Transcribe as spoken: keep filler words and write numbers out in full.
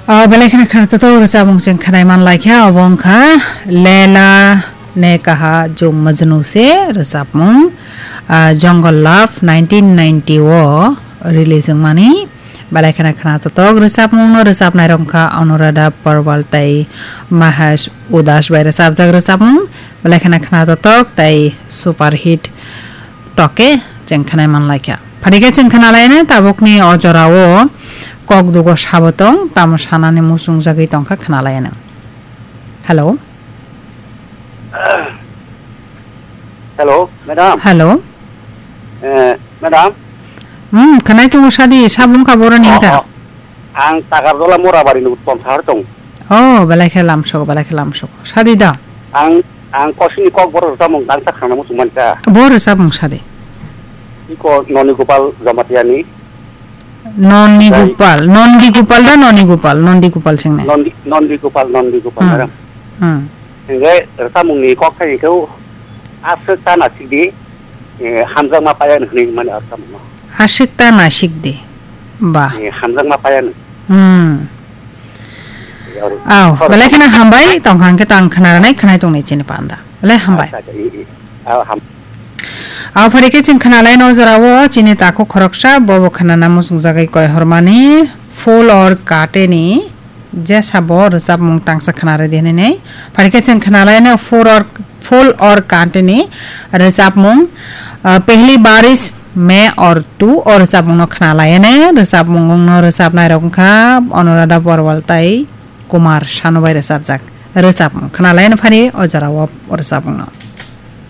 O belai kheno kheno to rwchapmung chwng khwnai man lai kha, obo wngkha Lela ne kaha jung majnu se rwchapmung, ah, Jungle Love nineteen ninety o release wngmani. Belai kheno kheno to rwchapmung no rwchapnai rok wngkha Anuradha Pawar tei Mahesh Udas bai rwchapjak rwchapmung. Belai kheno kheno to tei super hit toke chwng khwnai man lai kha. Phari khe chwng khwnalaino tabukni o jorao kok dugo sabo tong, tamo sanani muchung jagwi tongkha khwnalaino. Hello? Hello, madam. Hello? Eh, madam? Hmm, khwnai tongo sadi, sabung ka boroni Oh, wngkha? Oh. Ang Takarjola Morabari ni Uttom Sahar tong. Oh, belai khe lamsok, belai khe lamsok. Sadi da? Ang, ang kosini kok borok rwchapmung tangsa khana muchung mankha. Bo rwchapmung sadi? Iko Noni Gopal Jamatia ni. Noni Jai. Gopal, Nondi Gopal da Noni Gopal, Nondi Gopal singnai. Nondi, Nondi Gopal, Nondi Gopal, Hmm. Madam. Hmm. Hingke rwchapmung ni kok thani khe aswk ta nasik di, eh, hamjakma paya ni hwnwi mani rwchapmung no. Aswk ta nasik di. Ba. Eh, hamjakma paya ni. Hmm. Yaru. Aw, Sorry. Belai kheno hambai, tongkha hwnkhe tang khna rwnai, khwnai tongnai chini panda. Belai hambai. Acha, acha, i, i. Aw, ham. Aw, phari khe chwng khna lai no jora o, chini takhuk khoroksa, bobo khna na muchung jagwi koi hormani, Phul Aur Kaante ni, jesa bo rwchapmung tangsa khna rwdi hwnwi nei. Phari khe chwng khna lai no Phul Aur, Phul Aur Kaante ni rwchapmung, ah, Pehli Barish Main Aur Tu o rwchapmung no khna lai ne, rwchapmung no rwchapnai rok wngkha Anuradha Pawar tei Kumar Sanu bai rwchapjak rwchapmung khna lai no phari o jora o rwchapmung no.